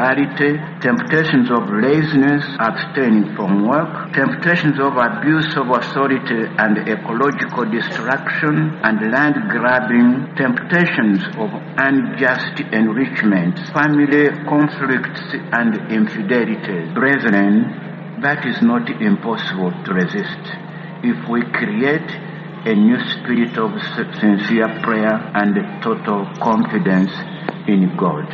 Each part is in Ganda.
immorality, temptations of laziness, abstaining from work, temptations of abuse of authority and ecological destruction and land grabbing, temptations of unjust enrichment, family conflicts and infidelities. Brethren, that is not impossible to resist if we create a new spirit of sincere prayer and total confidence in God.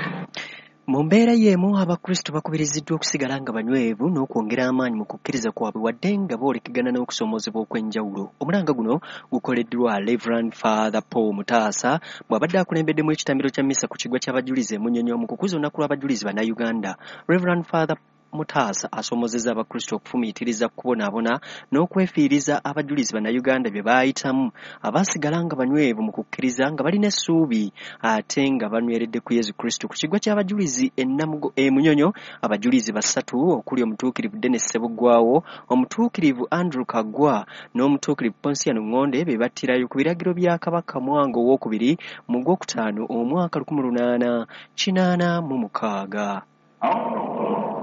Mu mbeera y'emu, Abakristo bakubiriziddwa okusigala nga banywevu n'okwongera amaanyi mu kukkiriza kwabwe wadde nga boolekegana n'okusoomoozebwa okw'enjawulo. Omulanga guno gukoleddwa Reverend Father Paul Mutaasa bw'abadde akulembeddemu ekitambiro kya mmisa ku kiggwa ky'Abajulizi e Munyonyo mu kukuza olunaku lw'Abajulizi Bannayuganda. Reverend Father Mutaasa asoomozezza Abakristo okufumiitiriza ku kubonaabona n'okwefiiriza abajulizi Bannayuganda bye baayitamu abaasigala nga banywevu mu kukkiriza nga balina essuubi ate nga banyweredde ku Yesu Kristo. Ku kiggwa ky'Abajulizi e Namugo e Munyonyo, abajulizi basatu okuli Omutuukirivu Denis Ssebuggwawo, Omutuukirivu Andrew Kaggwa n'Omutuukirivu Ponsiano Ngonde be battirayo ku biragiro bya Kabaka Mwanga Owookubiri mu Gwokutaano omwaka 1886.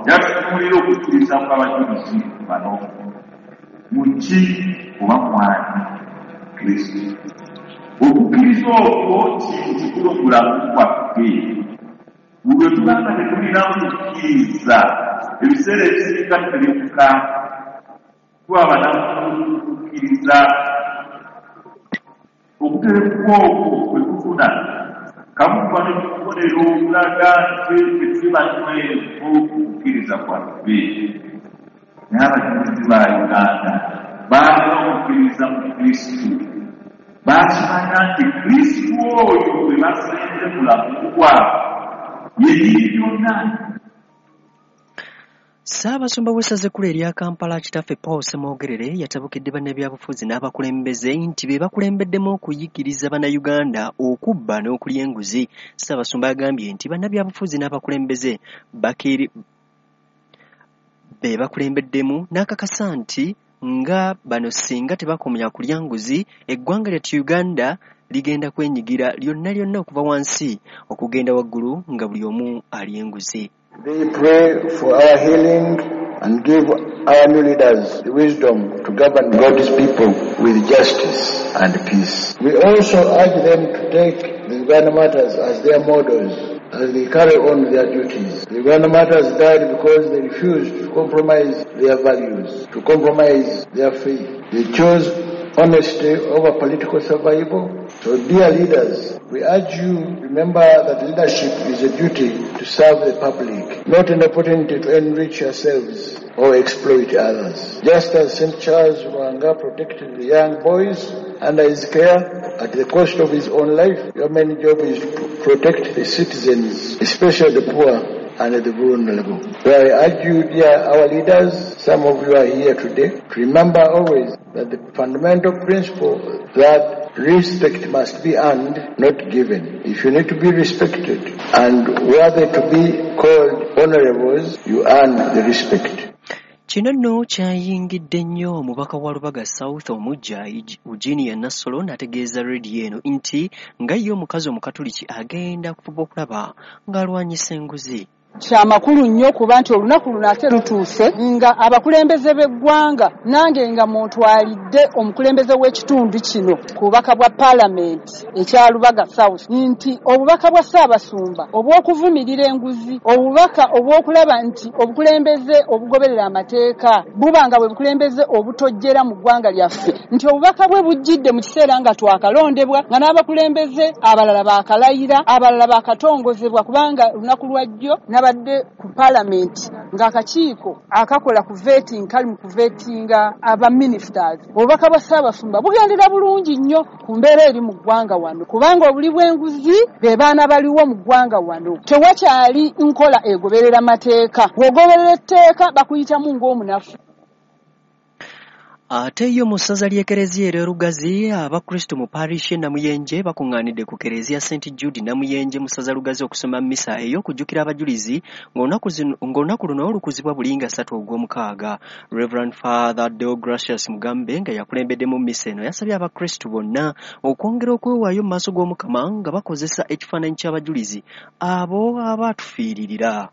Njagala okukkiriza kw'abajulizi bano mu ki oba mwani Kristo. Okukkiriza okwo kintu kikulu mu bulamu bwaffe. Buli lwe tuba nga tetulina kukkiriza, ebiseera ebisinga tuterebuka, tuba banafu mu kukkiriza. Okuterebuka okwo kwe tufuna kamu kuba ne bubonero obulaga nti ffe tuli banywevu mu kukkiriza kwaffe. Naye abajulizi ba Uganda baalina okukkiriza mu Kristo. Baakimanya nti Kristo oyo gwe basenze mu bulamu bwabwe ye nnyini byonna. Ssaabasumba w'essaza ekkulu erya Kampala, Kitaffe Paul Ssemwogerere, yatabukidde bannabyabufuzi n'abakulembeze nti be bakulembeddemu okuyigiriza Bannayuganda okubba n'okulya enguzi. Ssaabasumba agambye nti bannabyabufuzi n'abakulembeze bakiri be bakulembeddemu n'akakasa nti nga bano singa tebakomya kulya nguzi, eggwanga lyattu Uganda ligenda kwenyigira lyonna lyonna okuva wansi okugenda waggulu nga buli omu alya enguzi. They pray for our healing and give our new leaders the wisdom to govern God's people with justice and peace. We also urge them to take the Uganda martyrs as their models as they carry on their duties. The Uganda martyrs died because they refused to compromise their values, to compromise their faith. They chose honesty over political survival. So, dear leaders, we urge you, remember that leadership is a duty to serve the public, not an opportunity to enrich yourselves or exploit others. Just as St. Charles Lwanga protected the young boys under his care at the cost of his own life, your main job is to protect the citizens, especially the poor and the vulnerable. So I urge you, dear our leaders, some of you are here today, to remember always that the fundamental principle that respect must be earned, not given. If you need to be respected and worthy to be called honorables, you earn the respect. Kino nno kyayingidde nnyo omubaka wa Lubaga South omuggya Eugenia Nassolo n'ategeeza rediyo eno nti nga ye omukazi Omukatuliki agenda kufuba okulaba ng'alwanyisa enguzi. Kyamakulu nnyo kuba nti olunaku luno ate lutuuse nga abakulembeze b'eggwanga, nange nga muntwalidde omukulembeze w'ekitundu kino ku bubaka bwa Paalamenti ekya Lubaga South, nti obubaka bwa Ssaabasumba obw'okuvumirira enguzi, obubaka obw'okulaba nti obukulembeze obugoberera amateeka buba nga bwe bukulembeze obutojjera mu ggwanga lyaffe, nti obubaka bwe bujjidde mu kiseera nga twakalondebwa, nga n'abakulembeze abalala baakalayira, abalala baakatongozebwa, kubanga olunaku lwajjo nabadde ku Paalamenti ng'akakiiko akakola ku vetting kali mu kuvetinga aba ministers. Obubaka bwa Ssaabasumba bugendera bulungi nnyo ku mbeera eri mu ggwanga wano, kubanga obuli bw'enguzi be baana baliwo mu ggwanga wano. Tewakyali nkola egoberera mateeka, bw'ogoberera etteeka bakuyitamu ng'omunafu. Ate yo mu ssaza ly'Ekereziya erya Lugazi, Abakristo mu parish e Namuyenje bakuŋŋaanidde ku Kereziya St Jude Namuyenje mu ssaza Lugazi okusoma mmisa ey'okujjukira abajulizi ng'olunaku luno lukuzibwa buli nga 3 Ogwomukaaga. Reverend Father Deogracius Mugambe nga yakulembeddemu mmisa eno yasabye Abakristo bonna okwongera okwewaayo mu maaso g'Omukama nga bakozesa ekifaananyi ky'abajulizi abo abaatufiiririra.